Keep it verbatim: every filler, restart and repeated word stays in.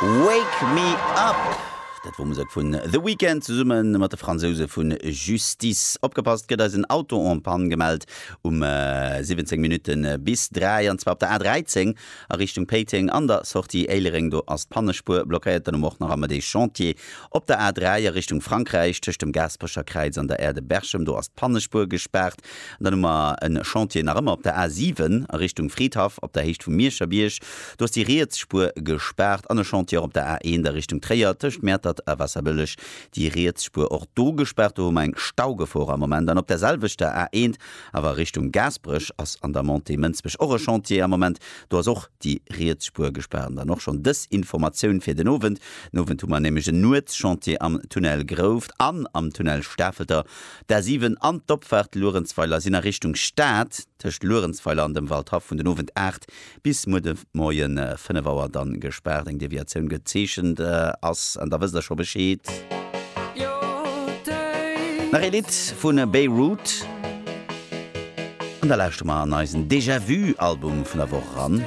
Wake Me Up! Dat wor Musek vun The Weeknd zesumme mat de Fransouse vun Justice. Opgepasst, gëtt eis en Auto en panne gemellt um siwwenzéng Minutte bis dräi, an zwar op der A dräizéng a Richtung Péiteng an der Sortie Éilereng. Do ass d'Pannespuer blockéiert. Dann hu mer och nach am de Chantier op der A dräi a Richtung Frankräich tëscht dem Gaasperecher Kräiz an der Aire de Berchem. Do ass d'Pannespuer gespaart. An dann hu mer e Chantier nach ëmmer op der A siwen a Richtung Fridhaff op der Héicht vum Mierscher Bierg. Do ass déi riets Spuer gespaart. An e Chantier och op der A eent a Richtung Tréier tëscht Mäertert a Waasserbëlleg, déi riets Spuer och do gespaart. Do hu mer eng Staugefor am Moment. An op der selwechter A eent awer a Richtung Gaasperech ass an der Montée Mënsbech och e Chantier am Moment. Do ass och déi riets Spuer gespaart. An dann och schonn dës Informatioun fir den Owend. Den Owend hu mer nämlech en Nuetschantier am Tunnel Grouft an am Tunnel Stafelter. D'A siwen an d'Opfaart Luerenzweiler sinn a Richtung Stad tëscht Luerenzweiler an dem Waldhaff vun den Owend aacht bis muer de Moie fënnef Auer dann gespaart. Eng Deviatioun gezeechent ass an da wësst der scho Bescheed. Nach ee Lidd vu Beirut an da lauschtere mer an eisen Déjà Vu Album vun der Woch eran.